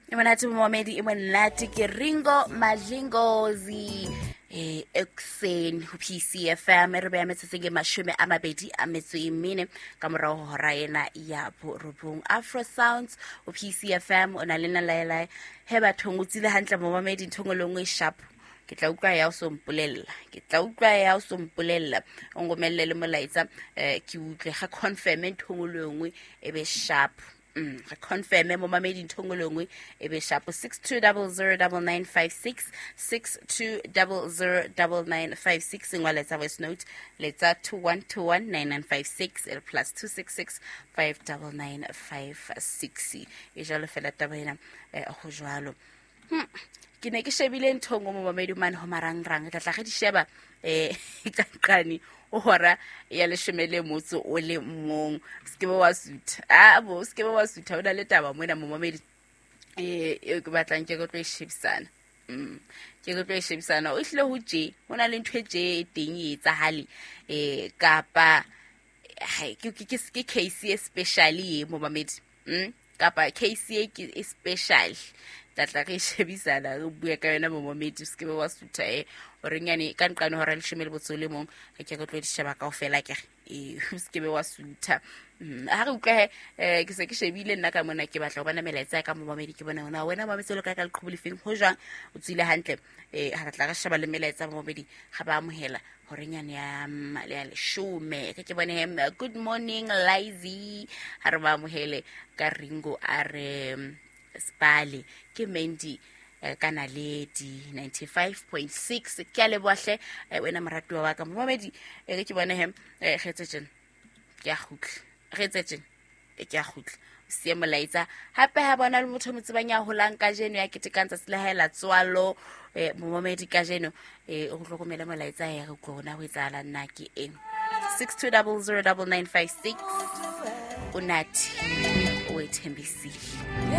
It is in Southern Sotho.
E monate momamedi, e monate. Ke Ringo Madlingozi ekuseni ho PCFM, e re beya metsotsong e 24 ka morago ho hora ena ya 9. Afro Sounds ho PCFM, o na le nna laelae he bathong. O tsile hantle momamedi, ntho ngwe le nngwe e sharp. Ke tla utlwa ya o so mpolella, ke tla utlwa ya o so mpolella, o ngomelle le molaetsa, ke utlwe ga confirme ntho ngwe le nngwe e be sharp. Re confirme momamedi, ntho ngwe le nngwe e be sharp. 62009956, 62009956. Ngwa letsa voice note, letsa 21219956 e +266 59956. E jalo fela taba ena, go jalo. Ke ne ke shebile ntho ngwe momamedi mane ho marangrang, tla tla ge di sheba qane o hora ya 11. Se ke be wa sutha, a bo se ke be wa sutha. O na le taba mona momamedi eo ke batlang ke tlo e shebisana. Ke tlo e shebisana. O hlile ho tje ho na le ntho e tje e teng e etsahale, kapa ke case e special e momamedi, kapa case e ke e special, tla tla re shebisana, re bue ka yona momamedi. O se ke be wa sutha. O re nyane ka nqane hora 11, re ke re tlo di sheba kaofela. Ke re o se ke be wa sutha. Ha re utlwa he, ke se ke shebile nna ka mona, ke batla ho bona melaetsa ya ka momamedi, ke bone hona wena mametse o le kae, ka leqhubu lefeng, ho jwang, o tswile hantle. Ha re tla re sheba le melaetsa momamedi, ga ba amohela horenyane ya ya 10. Ke bone he, good morning Lizy, ha re ba amohele ka Ringo, a re spale ke Mandy, ka Naledi 95.6. Ke a leboha hle, wena moratuwa wa ka momamedi. Ke bone he, re etse tjena, ke a kgutla, re etse tjena, ke a kgutla sie molaetsa hape. Ha bona le motho o mo tsebang ya holang kajeno, ya ketekang tsatsi la hae la tswalo, momamedi kajeno, o hlokomele molaetsa ya re utlwe hona ho etsahala nna ke eng. 62009956. Unathi o ethembisile.